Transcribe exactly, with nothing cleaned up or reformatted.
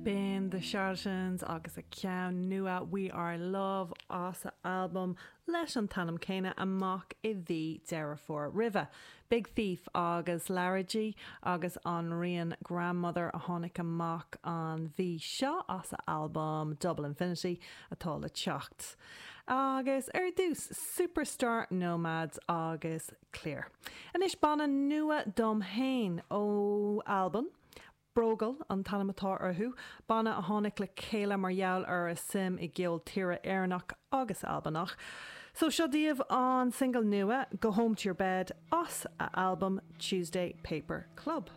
B'in The Charlatans agus a ceann nua We Are Love as a album leis an t-ainm céanna amach i mhí Deireadh Fómhair roimhe. Big Thief agus Largy agus an rian Grandmother a tháinig amach an mhí seo as a album Double Infinity atá le teacht. Agus ar dtús Superstar Nomads agus Clear. Anois banna nua dom féin ó Albain. Brogal an t-ainm atá orthu, banna a tháinig le chéile mar gheall ar a suim i gceol tíre Éireannach agus Albanach. So seo daoibh an single nua Go Home to Your Bed as a album Tuesday Paper Club.